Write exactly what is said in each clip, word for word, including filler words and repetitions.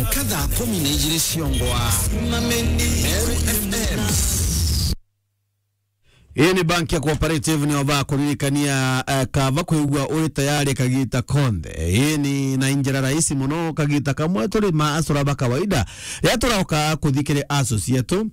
Nkatha kumi na ijiri ciongwa. Meru F M. Ii ni bank ya Cooperative, nio bakuririkania, eh, kaba kwigua uri tayari kagita konthe. Ii ni na njira rahisi mono, kagita kamwe turi ma asura ba kawaida. Riria turauka kuthi kiri associate,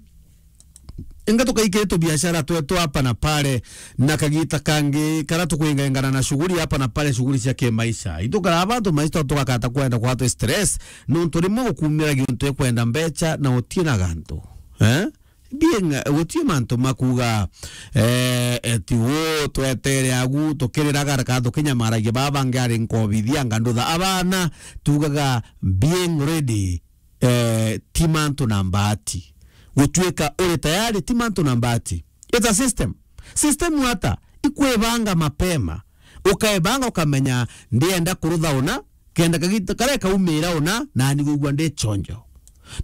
inga tukaikiri tubiashara twetu hapa na pale, na kagita kangi karia tukwingengana na shughuli hapa na pale, shughuli cia kimaisha. Itukara bantu maisha tugakata kwenda kwatwe stress, nontu rimwe gukumira giuntu ikwenda mbecha na utie na gantu. Eh? Being, eh, gutie mantu makuga, eh, eti wo twetere agu, tukiriraga reka tukinyamaragia baba bangi ari nkobithia ngandutha abana, tugaga being ready, eh, ti mantu na mbati. Gutuika uri tayari ti mantu na mbati. It's a system. System ata? Ikwibanga mapema. Ukaibanga ukamenya ndienda kurutha una, kenda kagita karia kaumira una, na ni gwigua ndi chonjo.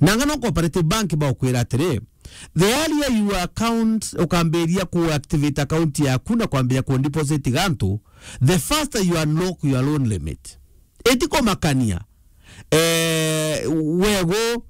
Nanga no Cooperative Bank baukwira atiri, the earlier you account, ukambiria ku activate account yaku na kwambiria ku deposit gantu, the faster you unlock your loan limit. Itikumakania, eh, wego,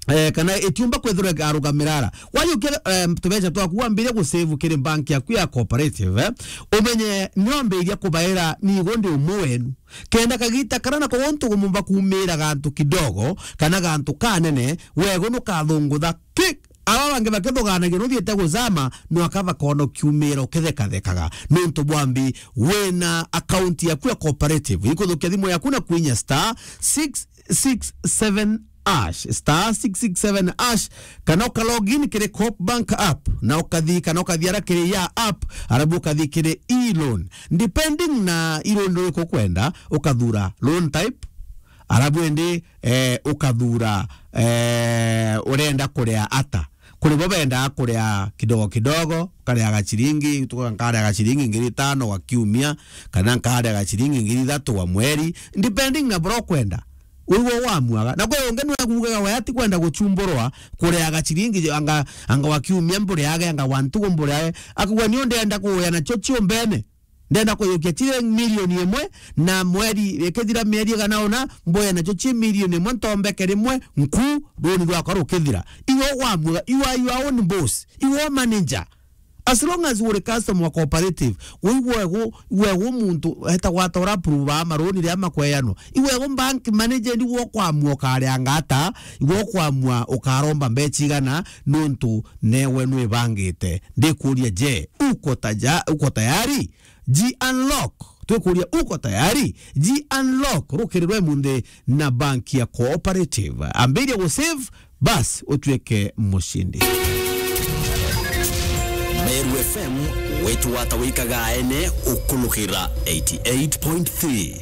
eh, kana itiumba kwithirwa ikarugamira ara. Wajukia, eh, tubeca twaku wambiria gusave kiri bank yaku ya Cooperative, eh, umenye niwambiria kubaira nigo ndi umwe wenu. Kenda kagita karia nako gontu gumumba kumira gantu kidogo, kana gantu kanene, wego nukathungutha ki Aba bangi bakithuganagia nuthiite guzama, nwaka bakona ukiumira ukithekathekaga. Nuntu bwambi wina account yaku ya Cooperative, ikuthukia thimu yaku na kwinya star six six seven hash, star six six seven hash, kana uka log in kiri Coop Bank app, na ukathi, kana ukathi ara kiri ya app, arabu ukathi kiri e-loan. Depending na e-loan iriku ukwenda, ukathura loan type, arabu indi, eh, ukathura, eh, urenda kuria ata. Kuri bo bendaa kuria kidogo kidogo, ukaria gachiringi, tuka nkaria gachiringi ngiri itano gwa kiumia, kana nkaria gachiringi ngiri ithatu gwa mweri, depending na buria ukwenda. Wigua wamuaga. Na kwi ungi nwe akuugaga we atikwenda guchumburwa kuria gachiringi anga, anga gwa kiumia mburiage, anga gwa ntugu mburiage. Akauga, "Ni ndenda kuuya nacho chiumbene." Ndenda kuyukia chiri milioni imwe, na mweri ikithira mieri igana una, mboya nacho chi milioni imwe, ntombeke rimwe, nku, runi rwakwa rukithira. Iwe wamuga, you are your own boss, iwe manager. As long as uri customer wa Cooperative, wigwe gu, wigwe muntu etagwa atora approve maruni ria makweyanwa. Iwe gu bank manager ni wo kwamua ukaria ngata, iwe kwamua ukaromba mbecha igana, nuntu newe nwibangite. Ndikuria, je, uko taja-, uko tayari? Ji unlock. Twikuria, uko tayari? Ji unlock. Rukirirwe munthi na banki ya Cooperative. Ambiria gu save, bas, utuike mushindi. Meru F M, wetu wata wikaga ene ukulukira eighty eight point three.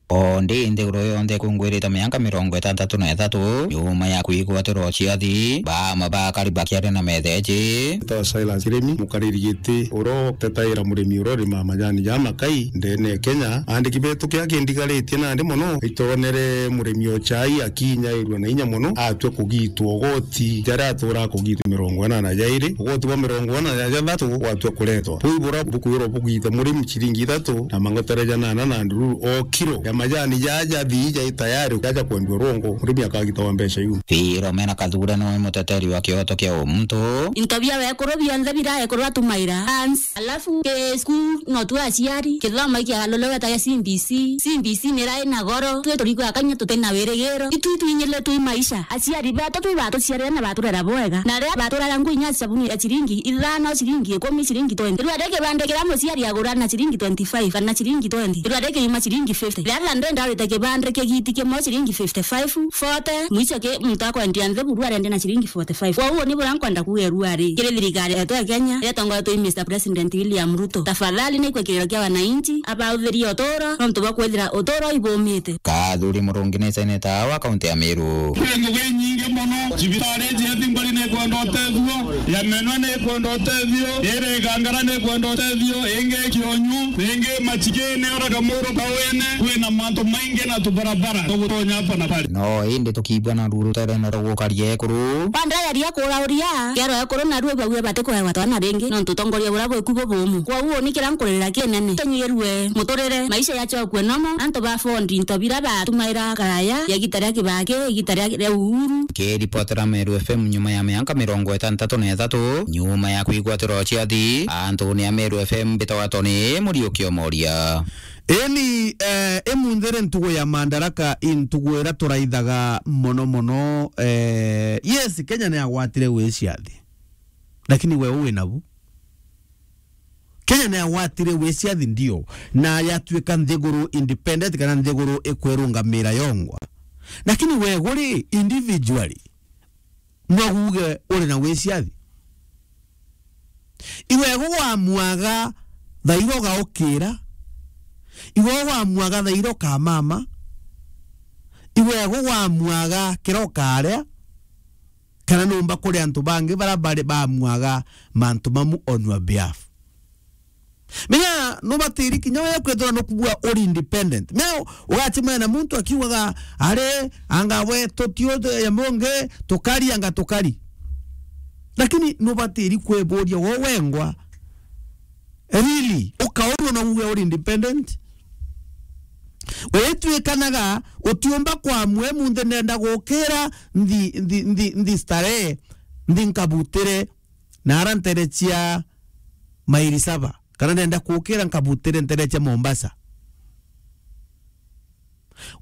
O ndi nthiguru yonthe ikungwirite mianka mirongo itantatu na ithatu nyuma ya kwigwatirwa ciathi, baama ba akari bakiaria na metheji. Tawa Silas Kiremi, mukariri giti uria utetaira murimi uria urimaa majani ja makai ndene ya Kenya. Andiki betu kia kindigaritie nandi mono, itonere murimi o chai akinyairua na inya mono, atwe kugitwa ugoti jaria atura kugitwa mirongo inana jairi, ugoti bwa mirongo inana ja jathatu gwatwe kuretwa. Buu buria bukwirwa bugita murimi ciringi ithatu na mangotere janana na ndururu o kiro ya majani jaja thii jai tayari jaja kwendua rwongo, murimi akagitawa mbeca iu. Philomena Kathure niwe muteteri wa kioto kia umuntu. Into bia wekuru bionthe bira ekuru atumaira. Ans-, alafu ke school no tu aciari, kithomo ikiagarulirwe ta gia C B C. C B C nirai na goro, twi turikwa akanya tutina wirigiro. Itu itwinyile twi maisha. Aciari betu twi batuciarire na baturera bwega. Na riria baturaga ngui inya sabuni ya ciringi ithano, ciringi ikumi, ciringi twenty. Rua ri kibande kiria muciari agura na ciringi twenty-five kana ciringi twenty, rua ri kiuma ciringi fifty. Riria ndenda urite kibande kigiti kimwe ciringi fifty-five, forty, mwicho ki muntu akwendia nthi buru arendia na ciringi forty-five. Kwou ni buria nkwenda kuuga rua ri kiri thirikari yetu ya Kenya, iria itongoretwe i Mister President William Ruto. Tafadhali ni ikwe kiriro kia wananchi, abauthirie uturo, nontu bwa kwithira uturo ibumite. Kathuri Murungi ni seneta wa kaunti ya Meru. Kwi ngugi inyingi mono. Cibitari iji ya Thimbari ni ikwenda utethio, ya Menwa ni ikwenda utethio, iri Igangara ni ikwenda utethio, ingi Kionyu, ingi Machigini, ora Kamuru, Kawene, kwina Mantu maingi na tubarabara tugutonya hapa na pale. No indi tukiigua na ruru ruterene rwa gukaria ekuru. Bandari ya kuura uria, kiaro ekuru na ruo bauria bati kuewa twana ringi, nontu utongoria buria bwiku bubumu. Kwou ni kiria nkuririra kinene. Tunyirue muturire, maisha yachokue nomo, antu ba fondi into bira batumaira karaya, ya igita ria Kibaki, igita ria, ria Uhuru. Kiripotera Meru F M nyuma ya mianka mirongo itantatu na ithatu, nyuma ya kwigwatirwa ciathi, antu ni a Meru F M mbitagwa Tony Muriuki Omoria. Eni, eh, imunthi ri ntugu ya Madaraka, i ntugu iria turaithaga mono mono, eh, yes, Kenya ni yagwatire wiciathi. Lakini we wi nabu? Kenya ni yagwatire wiciathi ndio, na yatuika nthiguru independent kana nthiguru ikwirungamira yongwa. Lakini we guri individually, no uge uri na wiciathi? Iwe gugwamwaga thairo gaukira, iwe gugwamwaga thairo kamama, iwe gugwamwaga kiro karia, kana numba kuri antu bangi bara bari bamwaga mantu mamu on your behalf. Menya nubatiri kinya we kwithirwa nukubua uri independent. Menya ugachimana na muntu akiugaga, "Ari, anga we tutiu ya mungi, tukari, anga tukari." Lakini nubatiri kwiburia wo wengwa, really, ukaurwa na uwe uri independent? Witwikanaga utiumba kwamwe munthi nenda gukira nthi, nthi, nthi, nthi starehe, nthi nkabutire na ara ntere cia mairi saba, kana nenda kukira nkabutire ntere cia Mombasa.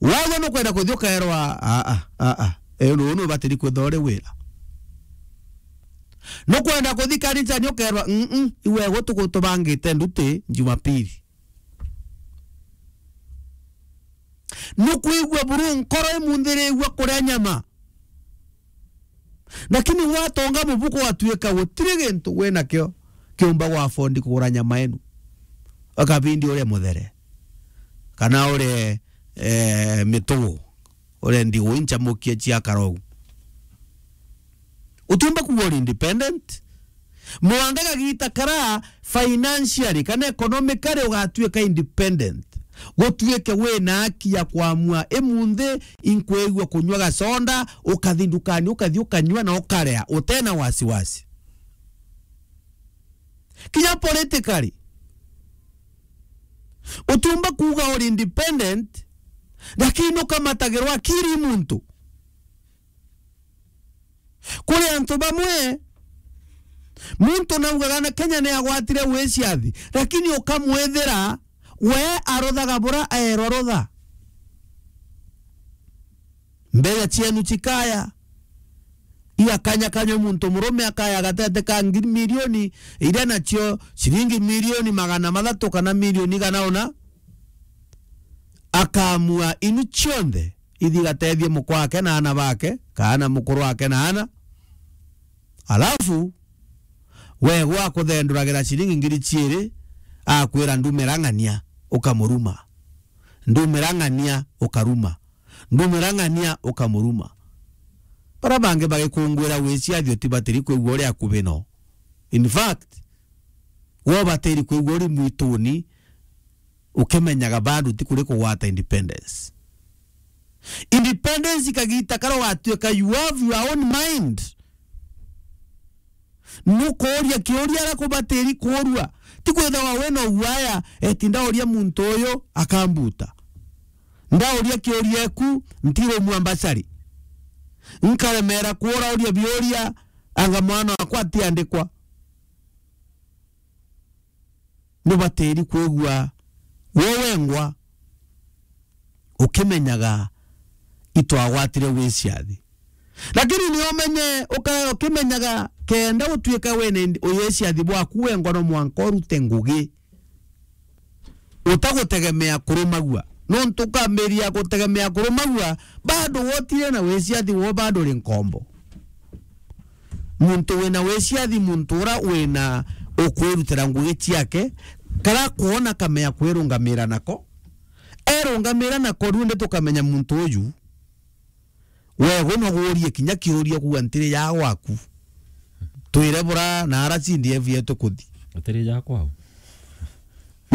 Wagwa nukwenda kuthi ukaerwa, "Aa, aa, aa, e, uu nubatiri kwithwa uri wira." Nukwenda kuthi kanisani ukaerwa, "Mm-mm, iwe gutu gutubangite nduti Jumapili." Nukwigua buru nkoro imunthirigua kuria nyama. Lakini watonga mubuko watuika gutiri gintu wi nakio kiumba gwa fondi kugura nyama inu. Akabindi urie muthere. Kana urie, eh, mitugu. Urie ndigui nchamukie cia karou. Utiumba kuuga uri independent. Mwanka kagita kara financially kana economically ugatuika independent. Gutuike wina haki ya kwamua, imunthi inkwigua kunywa gaconda, ukathi ndukani, ukathi ukanywa na ukaria, utena wasiwasi. Kinya politically, utiumba kuuga uri independent, lakini ukamatagirwa akiri muntu. Kuri antu bamwe, muntu naugaga na Kenya ni agwatire wiciathi, lakini ukamwithira we aruthaga bura aerwa rutha. Mbeca cienu cikaya, igakanyakanywa muntu murume akaya gatete ka ngiri milioni iria nacio ciringi milioni magana mathatu kana milioni igana una, akamua inu cionthe ithi igatethie mukwa wake na ana bake, kana mukuru wake na ana. Alafu, we gwa kuthenduragira ciringi ngiri ciiri, akwira, "Ndumira ng'ania," ukamuruma. "Ndumira ng'ania," ukaruma. "Ndumira ng'ania," ukamuruma. Bara bangi bagikungwira wiciathi utibatiri kwigua uri akubi no. In fact, we ubatiri kwigua uri mwituni, ukimenyaga bado ti kuri kugwata independence. Independence ikagita kara watuika you have your own mind. Nukuuria kiuria ara kubatiri kuurua. Ti kwithagwa we no uaya, eti ndauria muntu uyu akambuta. Ndauria kiuria eku, ntirumua mbacari. Nkaremera kuurauria biuria, anga mwana wakwa atiandikwa. Nubatiri kwigua we wengwa ukimenyaga itwagwatire wiciathi. Lakini ni umenye, uka-, ukimenyaga kenda utuika wene indi-, uyiciathi bwaku wengwa no mwanka urute ngugi utagutegemea kurumagua. Nontu ukambiria gutegemea kurumagua, bado wotire na wiciathi wo bado uri nkombo. Muntu wina wiciathi, muntu ura wina ukwirutira ngugi ciake, kara kwona kamea kwirungamira nako. Erungamira nako, riu ndi tukamenya muntu uyu, we gwe no guurie kinya kiuria kuuga, "Ntiri ya gwaku." Twire bura na ara C D F yetu kuthi. Atiri ya kwao.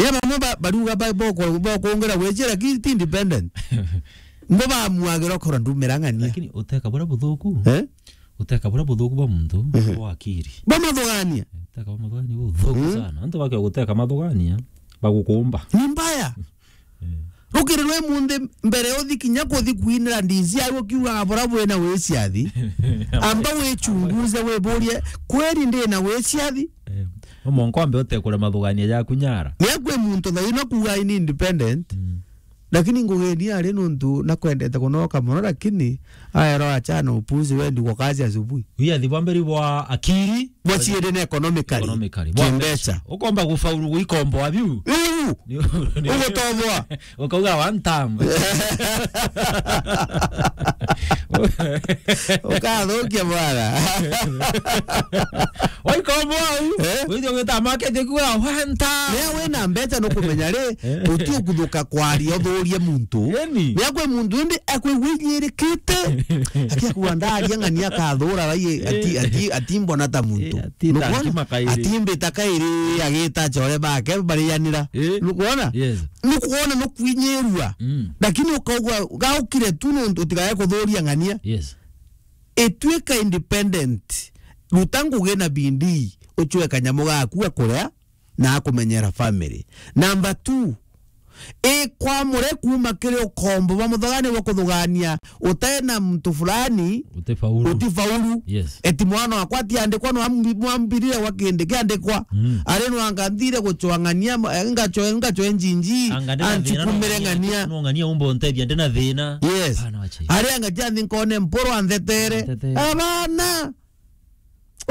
Ya bamwe ba-, bariuga ba-, boko-, bokungira gwiciria ki ti independent. Mbo bamuagira ukora ndumira ng'ania. Lakini uteka buria buthuku. Eh? Uteka buria buthuku bwa muntu, mhm, bwa akiri. Bwa mathugania. Uteka bwa mathugania buthuku, mm, sana. Antu bakio guteka mathugania, bagukumba. Ni mbaya. Eh. Rukiri rwe munthi mbere uthi kinya kuthi kwinira ndisi au ukiugaga bura bwina wiciathi. Amba wichunguze wiburie, kweri ndina wiciathi? Eh. Umonko ambe utekure mathugania jaku nyara. Ni akwi muntu thaina kuuga ni independent. Mm. Lakini ngugeni ari nuntu nakwendete kunoka mono, lakini aero achana upuzi wendi kwa kazi asubuhi. Wiyathi bwa mbere bwa akiri. Bwa ciiri na economically. Economically. Bwa kimbeca. Ukomba gufaulu gwikomboa biu. Riu, ni, ni, ugutoboa. Ukauga one time. Ukathukia bwana. Waikomboa u. Eh? Withio gwita market kuga one time. Ria wina mbeca nukumenya ri, eh, uti ukuthuka kwaria uthurie muntu. Eni. Ria kwi muntu indi akwi winyirikite. Akia kuwa ndaria ng'ania akathura rai ati, eh, ati, ati mbona ta muntu. Eh, ati ta nukwona? Ati mbita kairi agita chore bake barianira. Eh. Nukwona? Yes. Nukwona nukwinyirua. Mm. Lakini ukauga gaukire tu nuntu utigae kuthuria ng'ania. Yes. Ituika independent. Ruta ngugi na bindii, uchwe kanyamu gaku ga kuria na akumenyera family. Number two, ikwamure kuuma kiri ukombo bwa muthugani bwa kuthugania utena muntu fulani, utifaulu. Utifaulu. Yes. Eti mwana wakwa atiandikwa, no ambi-, mwambirire gwa kindi kiandikwa. Mm. Ari no anga nthire guchwang'ania, ma-, ngacho-, ngacho njinji, anga ndina thina, anchikumire no ng'ania, ng'ania. No ng'ania umba untethia, ndina thina. Yes. Hapana, wache. Ari anga tia nthi nkone mporo anthetere. Anthetere. Abana.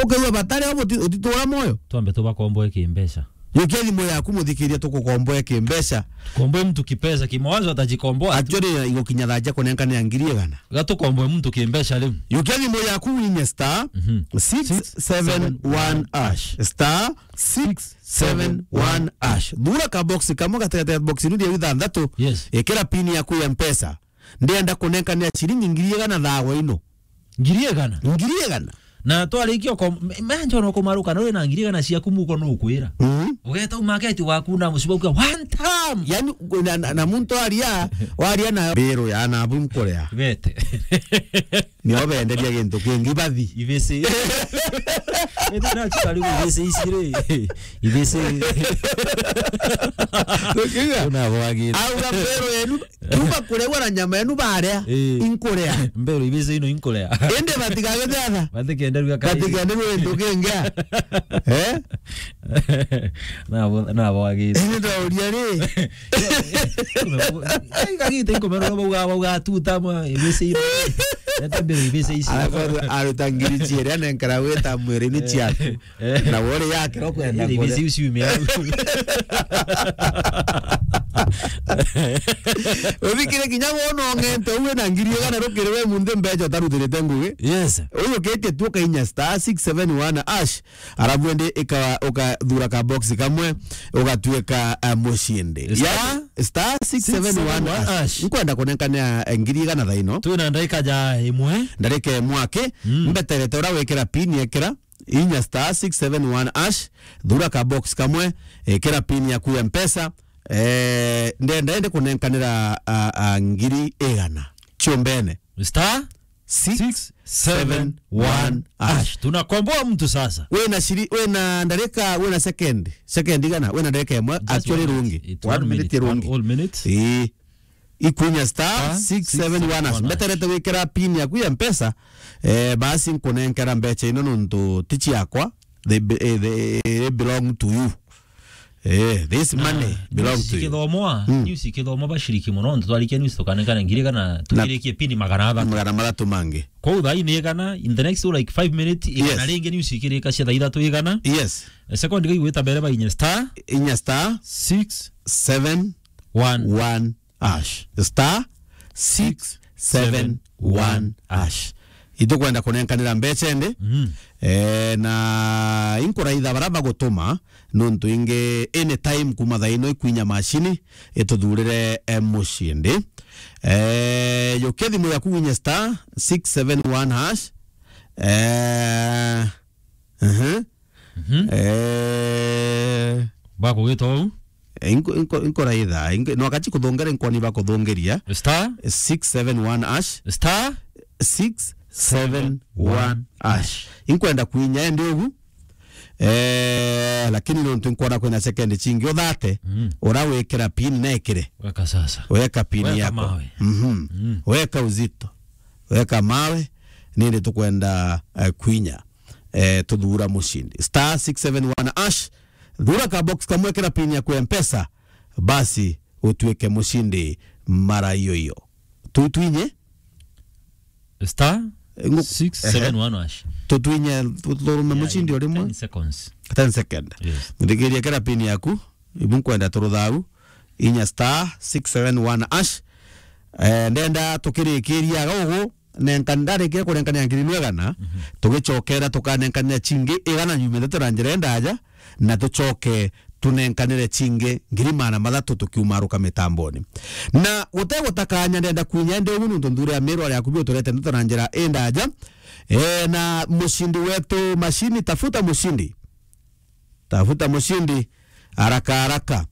Ukaigua batari o buti-, utitura moyo. Twambe tubakomboe kimbeca. Yukia thimu yaku muthikiria tukukomboe kimbeca. Komboe mtu kipesa, kimawazo atajikomboa. Actually, igukinya thaa ja kunenkania ngiri igana. Gatukomboe mtu kimbeca riu. Yukia thimu yaku winye star, mhm, six seven one hash. Star six seven one hash. Thura ka box kamwe gatigati ya box nini ya ithanthatu. Yes. Ikira pin yaku ya mpesa. Ndienda kunenkania ciringi ngiri igana thawa ino. Ngiri igana? Ngiri igana. Na twarikia uko-, me-, menjo no kumaruka, no wina ngiri igana ciaku muko no ukwira. Mhm. Ugeta u market waku na muciba ukiuga, "One time!" Yani, na, na, na muntu aria, waria na biro ya na bu nkorea. Bete. Nio benderia gintu kingi bathi. Ibisi. Ete na chikari ibisi ici ri. Ibisi. Ukiuga? Una bwagi. Au ga biro yenu, kuma kuregwa na nyama yenu baria, eh, inkurea. Mbero ibisi ino inkurea. Indi batigagete atha. Batikenderua kai. Batikenderua gintu kingi. Eh? Na bo-, na bwagi. Indi ndauria ri. Ai, kagite inkomero no bauga, bauga tuta ma ibisi ino. Ete mbero ibisi ici. Alafu aru-, aruta ngiri ciiri anenkara gwita mwiri ni ciaku. Eh. Na wori yake no kwenda. Ile kore. Ibisi uciumia. Uthikire kinya wona ong'ente uwe na ngiri igana rukiri we munthi mbeca utarutirite ngugi. Yes. Uyu kete tu ukainya star six seven one hash. Arabu ende ika-, ukathura ka box kamwe, ugatuika, eh, mucindi. Star, ya star six seven one hash. Six seven one hash. Nkwenda kunenkania, eh, ngiri igana thaino. Twina ndaika ja imwe. Ndarika imwe aki. Mm. Mbeterete ura wikira pin ekira. Inya star six seven one hash, thura ka box kamwe, ikira pin yaku ya mpesa, eh, ndenda ende kunenkanira, a, a, ngiri igana. Chumbene. Star six seven one hash. Tunakomboa mtu sasa. Wena shiri-, wena ndarika, wena second. Second igana, wena ndarika imwe, just actually one minute. Rungi. It's one minute, one whole minute. One minute rungi. Ii. Ikwinya star six seven one hash. Star six seven one hash. Mbeterete gwikira pin yaku ya mpesa, eh, basi nkunenkera mbecha ino nontu ti ciakwa. They be-, eh, they, they belong to you. Eh, this money belong to you. Na news ikithomwa, mm, news ikithomwa bashiriki mono, nontu twarikia news tukanenkana ngiri kana tukirikie pin magana athatu. Magana mathatu mangi. Kwou thaa ii ni igana, in the next, like, five minutes, igana ringi news ikirika cia thaa ithatu igana. Yes. Eh, second igwita mbere ba inya star. Inya star. Six seven one hash. Star six seven one hash. Itukwenda kunenkanira mbecha indi. Mm. Eh, na inkuraitha bara bagutuma, nontu ingi anytime kuma thaa ino ikwinya mashini, ituthurire, eh, mucindi. Eh, yukia thimu yaku winye star six seven one hash. Eh, aha. Mhm. Eh. Bakugita ou? Eh, inko-, inko-, inkoraitha, inko-, no akachi kuthongera, inkoni ba kuthongeria. Star six seven one hash. Star six seven one hash. Inkwenda kwinya endi ugu. Eh, lakini nontu nkwona kwina second chingi uthate, mm, ura wikira pin nekire. Weka sasa. Weka pin yako. Weka mawe. Mhm. Mm. Weka uzito. Weka mawe, nindi tukwenda, eh, kwinya. Eh, tuthura mushindi. Star six seven one hash. Thura ka box kamwe, kira pin yaku ya Mpesa. Basi, utuike mushindi mara iyo iyo. Tu-, twinye? Star six seven one hash. Tutwinye, tu-, turume mushindi o rimwe. Ten seconds. Ten second. Yes. Muthikiria kira pin yaku, ibu nkwenda turuthau, inya star six seven one hash. Eh, ndenda tukirikiria gugu, nenka-, ndarikia kunenkania ngiri imwe igana, mhm, tugicokera tukanenkanira chingi igana nyumite tu na njira indaja, na tucoke tunenkanire chingi ngiri magana mathatu tukiumaruka mitamboni. Na gute gutakanya ndenda kwinya ndi ugu nuntu nthuri ya Miru ari akubi uturete ndeto na njira indaja. Eh, na mushindi wetu mashini, tafuta mushindi. Tafuta mushindi haraka haraka.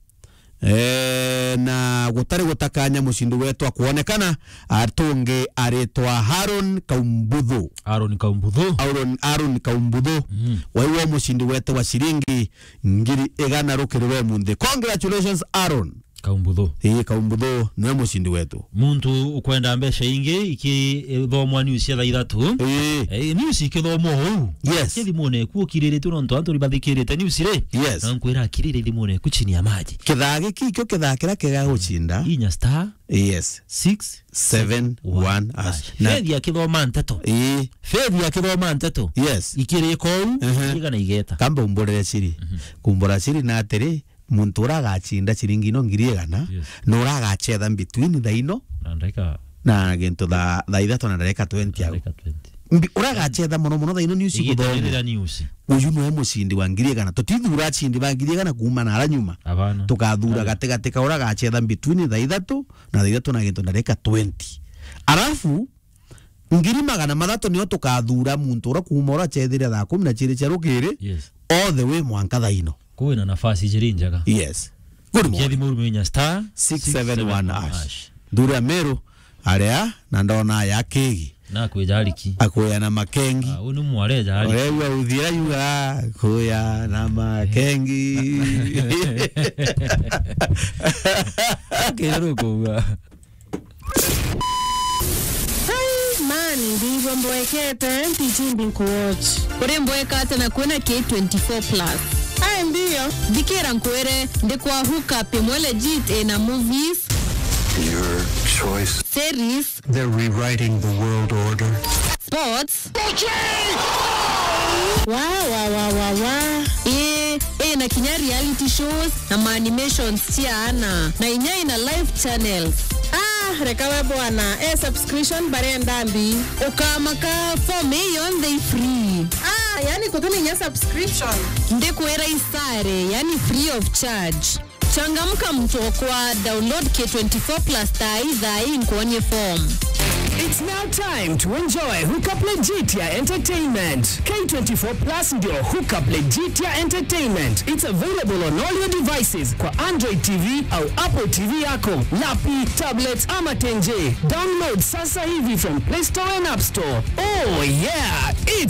Eh, na gutari gutakanya mushindi wetu akuonekana, atungi aritwa Aaron Kaumbuthu. Aaron Kaumbuthu. Aaron, Aaron Kaumbuthu. Mm. Waiwa mushindi wetu wa shilingi ngiri igana rukiri rwa umunthi. Congratulations, Aaron. Kaumbuthu. Ii, Kaumbuthu niwe mushindi wetu. Muntu ukwenda mbeca ingi, ikithomwa news cia thaa ithatu. Ii. Eh, news ikithomwa uu. Yes. Kithimune eku ukiriritwe nontu antu ni bathikirite news ri. Yes. Na nkwira akirire thimune eku chini ya maji. Kithaa giki kio kithaa kiria kiega guchinda. Inya star. Yes. Six seven one hash. Hash. Na Faith akithoma nteto. Ii. Faith akithoma nteto. Yes. Ikirika uu, ehe, igana igeta. Kamba umburire ciri. Mhm. Kumbura ciri na atiri, muntu uria agachinda ciringi ino ngiri igana, yes, na uria agachetha between thaa ino na ndagika, na gintu thaa, thaa ithatu na ndagika twenty au. Ndagika twenty. Mbi-, uria agachetha mono mono thaa ino news iguthomwa. News. Uyu niwe mushindi wa ngiri igana. Tutithura ashindi ba ngiri igana kuuma na ara nyuma. Abana. Tukathura gatigati ka uria agachetha between thaa ithatu na thaa ithatu na gintu ndagika twenty. Arafu, ngiri magana mathatu nio tukathura muntu uria kuuma uria achethire thaa kumi na chiiri cia rukiri, yes, all the way mwanka thaa ino. Kwina nafasi jiri njega. Yes. Good morning. Kethimune inya star six seven one hash. Nthuri ya Meru aria na ndona ya kegi. Na kwija ariki. Akuya na makengi. Ah, uni mware ja ariki. Uregua uthira yuga kuya na makengi. Kero kuga. Ai, man, ndivyo mboekete, mpichimbi nkuwatch. Uri mboeka ata na kwina K twenty-four plus? Ai, ndio. Thikira nkwire, ndi kwa hook up imwe legit ina movies. Your choice. Series. They're rewriting the world order. Sports. Wa, wa, wa, wa, wa. Ii, ii, na kinya reality shows na ma animations cia ana. Na inya ina live channels. Ah, reka we bwana. Eh, subscription barenda mbi. Ukamaka form ii yonthe i free. Ah, yani kutuni inya subscription. Ndikwira isare, yani free of charge. Changamka mtu okwa, download K twenty-four plus thaa ii, thaa ii nkuonie form. It's now time to enjoy Hookup Legitia Entertainment. K twenty-four plus ndio Hookup Legitia Entertainment. It's available on all your devices kwa Android T V au Apple T V yako, lapi, tablet ama tenje. Download sasa hivi from Play Store and App Store. Oh yeah,